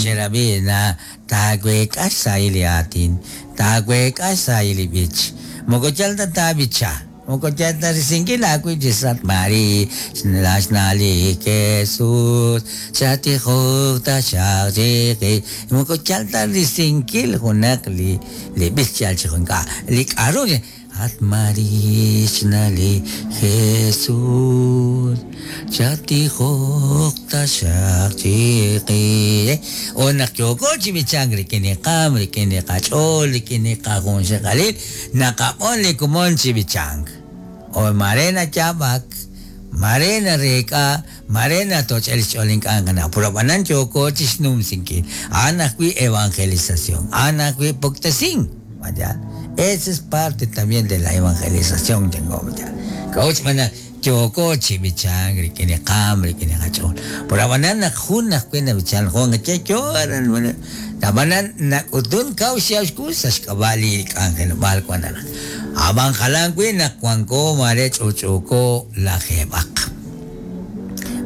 xerab'i na taaweek'a xsahil li aatin, taaweek'a xsahil li b'ich. Moko yal ta taab'icha, moko yal ta risinkil aawib' chi sa' María, xna' li Jesús, chatijoq taxaq chiqix. Moko yal ta risinkil junaq li li b'ich yal chi ink'a'. Li k'a'ru At María, xna' li Jesús, chatijoq taxaq chiqix. O naq yooko chi b'ichank rik'in li qaam, rik'in li qach'ool, rik'in li qajunxaqalil, naqab'on li komon chi b'ichank. O mare nayaab'ak, mare nareek'a, mare natoch'el xch'ool ink'a' nqanaw. Pero ab'anan yooko chi xnumsinkil. A'an ajwi' evangelización, a'an ajwi' puktesink. Vaya, esa es parte también de la evangelización, tengo, vaya. K'a'ut xb'aan naq yooko chi b'ichank rik'in li qaam, rik'in li qach'ool. Pero ab'anan naq jun ajwi' nab'ichan jun che yo aran, ab'anan nak'utun kaw xyaab' xkux sa' xk'ab'a' li k'anjelob'aal wan aran. Ab'an jalan wi' naq wanko mare ch'uch'uuko lajeeb'aq.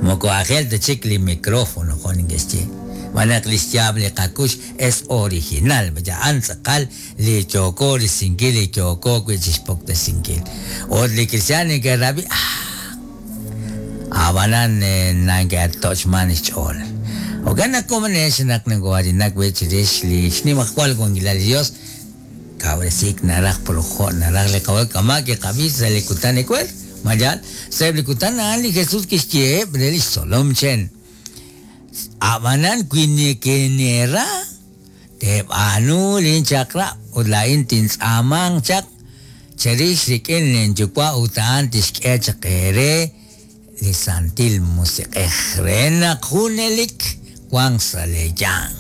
Moko aajel ta chik li micrófono jo' neke'xye. Xb'aan naq li xyaab' li qakux es original, vaya, a'an tz'aqal li yooko risinkil, li yooko wi' chixpuktesinkil. Ut li cristiaan neke'rab'i, ah, ab'anan neke'toch'man xch'ool. Jo'kan naq komonex naq noko'aatinak wi' chirix li xnimajwal wankilal li Dios, kawresiik naraj pero jo' naraj li Qaawa' kama' kiqab'i sa' li kutan ewer. Ma yaal? Sa'eb' li kutan a'an li Jesús kixyeheb' re lix tzolom chen. Ab'anan wi nekeneera, teeb'aanu linchaq'rab' ut laa'in tintz'aamanq chaq cherix rik'in linYuwa' ut a'an tixk'e chaq eere li Santil Musiq'ej re naq junelik wanq sa' leeyanq.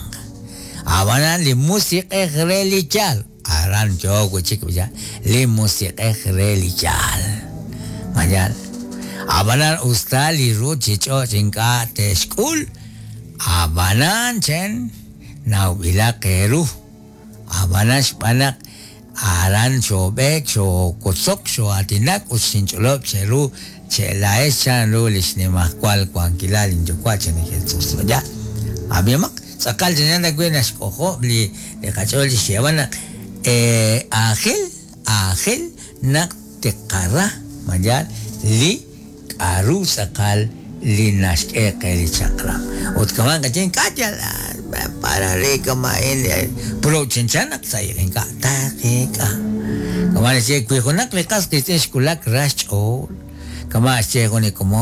Ab'anan li Musiq'ej re li yaal, aran yook wi' chik li Musiq'ej re li yaal. Ma yaal? Ab'anan us ta li ruuchich'och' ink'a' te'xk'ul, ab'anan chen nawb'ilaq eeru. Ab'anan xb'aan naq aran xoob'eek, xoowotzok, xoo'aatinak ut xinch'olob' cheru che'laa'ex chanru li xnimajwal wankilal linyuwa' chan li Jesús. Ma yaal? Ab'ihomaq, tz'aqal chanchan ta wi' naxk'ojob' li qach'ool chi xyeeb'al naq aajel, aajel naq tiqara, ma yaal, li k'a'ru tz'aqal li naxk'e qe li chaq'rab'. Ut kama' qaye ink'a' yal para re kama'in pero chanchan naq sa' ink'a' taqeek'a. Kama' naxye wi junaq li qas qiitz'in xwulak ra xch'ool, kama' xye jun li komon.